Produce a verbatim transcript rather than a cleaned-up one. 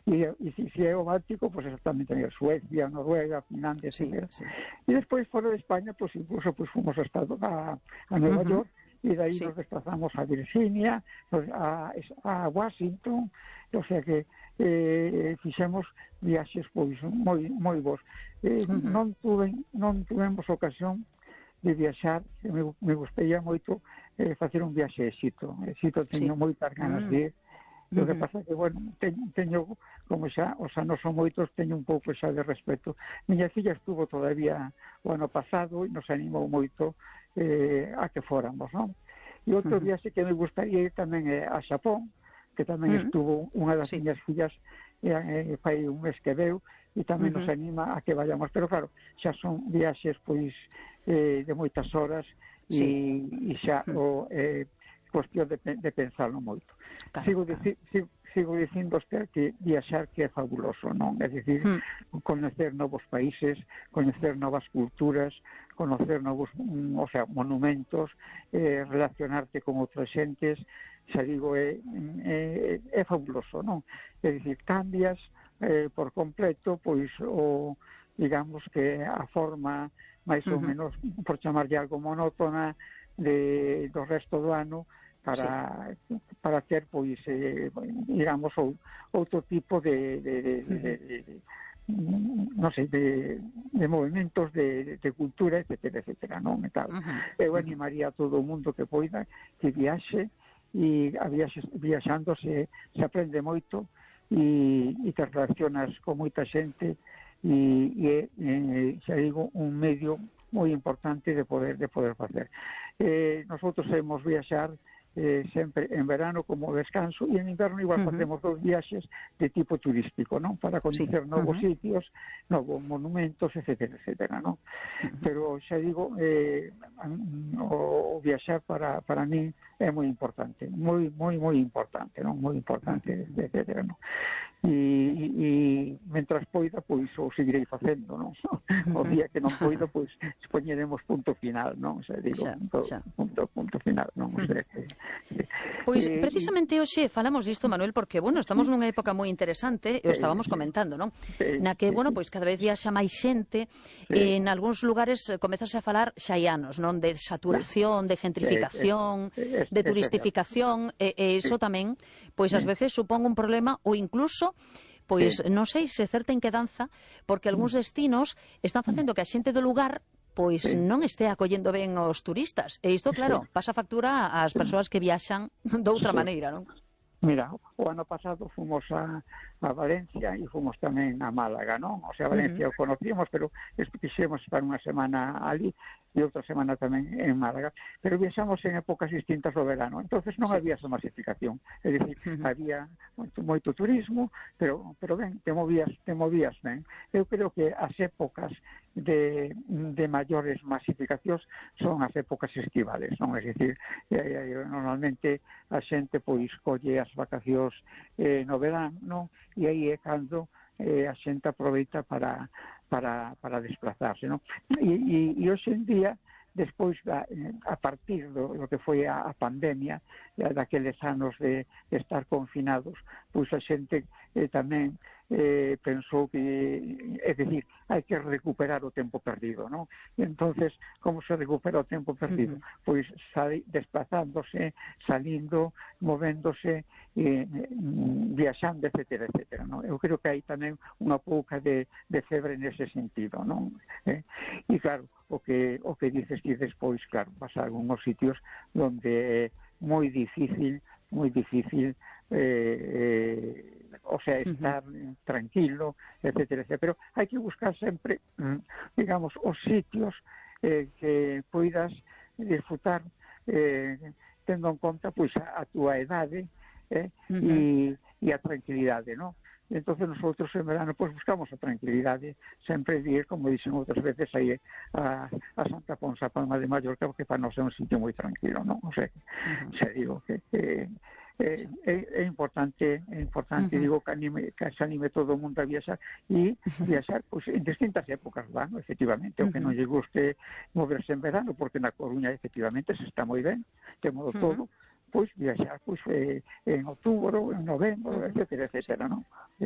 e, e se, se é o Báltico, pois exactamente tamén Suecia, Noruega, Finlandia, sí, etcétera. Sí. E despois, fora de España, pois incluso pois, fomos a, Estado, a, a Nueva uh -huh. York, e de aí sí. nos desplazamos a Virginia, a, a Washington, o sea que eh, fixemos viaxes pois moi moi bons. Eh, uh -huh. non tuve non tuvemos ocasión de viaxar, me, me gustaría moito eh, facer un viaxe a Exito. Exito teño sí. moitas ganas uh -huh. de ir. O que pasa que, bueno, teño, teño como xa, os anos son moitos, teño un pouco xa de respeto. Miña filla estuvo todavía o ano pasado e nos animou moito eh, a que fóramos, non? E outro uh -huh. viaxe que me gustaría ir tamén é a Xapón, que tamén uh -huh. estuvo unha das sí. miñas fillas eh, fai un mes que veu, e tamén uh -huh. nos anima a que vayamos. Pero claro, xa son viaxes pois eh, de moitas horas e, sí. e xa o... Eh, cuestión de, de pensarlo moito. Claro, sigo, claro. Dici, sigo, sigo dicindo que viaxar que é fabuloso, non? É dicir, mm. conocer novos países, conocer novas culturas, conocer novos, o sea, monumentos, eh, relacionarte con outras xentes, xa digo, é, é, é fabuloso, non? É dicir, cambias eh, por completo, pois, o, digamos que a forma máis ou menos, uh -huh. por chamarlle algo monótona, de, do resto do ano, para sí. para ter pois eh, digamos ou, outro tipo de, de, de, de, de, de, de non sei, de, de movimentos de, de cultura, etcétera, etcétera, non? E tal. Uh -huh. Eu animaría a todo o mundo que poida que viaxe, e a viaxe, viaxando se, se aprende moito e, e te relacionas con moita xente e, e, e xa digo, un medio moi importante de poder de poder facer. Eh, nosotros hemos viaxar eh, sempre en verano como descanso, e en inverno igual uh -huh. facemos dos viaxes de tipo turístico, non? Para conocer sí. novos uh -huh. sitios, novos monumentos, etcétera, etcétera, non? Uh -huh. Pero xa digo, eh, o, o viaxar para, para mí é moi importante, moi, moi, moi importante, non? Moi importante, etcétera, non? E, e mentras poida, pois o seguirei facendo, non? O día que non poida, pois poñeremos punto final, non? Xa digo, xa, punto, xa. punto, punto final, non? O sea, que, Pois eh, precisamente hoxe falamos disto, Manuel, porque, bueno, estamos nunha época moi interesante, e o estábamos comentando, non? Na que, bueno, pois cada vez viaxa máis xente, e en algúns lugares comezase a falar xa hai anos, non? De saturación, de gentrificación, de turistificación, e, e iso tamén, pois ás veces supón un problema, ou incluso pois non sei se certa inquedanza, porque algúns destinos están facendo que a xente do lugar pois sí. non este acollendo ben os turistas. E isto, claro, pasa factura ás persoas que viaxan doutra sí. maneira, non? Mira, o ano pasado fomos a, a Valencia e fomos tamén a Málaga, non? O sea, Valencia uh -huh. o conocíamos, pero quixemos estar unha semana ali e outra semana tamén en Málaga. Pero viaxamos en épocas distintas do verano, entonces non sí. había esa masificación. É dicir, uh -huh. había moito, moito turismo, pero, pero ben, te movías, te movías ben. Eu creo que as épocas de, de maiores masificacións son as épocas estivales, non? É dicir, eh, normalmente a xente pois colle as vacacións eh, no verán, non? E aí é cando eh, a xente aproveita para, para, para desplazarse, non? E, e, e hoxe en día, despois, a, a partir do, do que foi a, a pandemia, daqueles anos de, de estar confinados, pois a xente eh, tamén eh, pensou que, é dicir, hai que recuperar o tempo perdido, non? E entonces, como se recupera o tempo perdido? Uh-huh. Pois sali, desplazándose, salindo, movéndose, eh, viaxando, etcétera, etcétera, non? Eu creo que hai tamén unha pouca de, de febre nese sentido, non? Eh? E claro, o que, o que dices que despois, claro, pasa algúns sitios onde é moi difícil, moi difícil eh, eh, o sea, estar uh-huh. tranquilo, etcétera, etcétera. Pero hai que buscar sempre, digamos, os sitios eh, que poidas disfrutar eh, tendo en conta pois a, a túa edade eh, uh-huh. e, e a tranquilidade, non? E entonces nosotros en verano pues buscamos a tranquilidade, sempre ir, como dicen outras veces, aí a, a Santa Ponsa, Palma de Mallorca, porque para nós é un sitio moi tranquilo, non? O sea, uh-huh. se digo que eh, eh, é, é importante, é importante, uh-huh. digo, que, anime, que se anime todo o mundo a viaxar e uh-huh. viaxar pues, en distintas épocas do ano, efectivamente, uh-huh. o que non lle guste moverse en verano, porque na Coruña efectivamente se está moi ben, temos uh-huh. todo, pois viaxar pois, eh, en outubro, en novembro, etcétera, etcétera, non?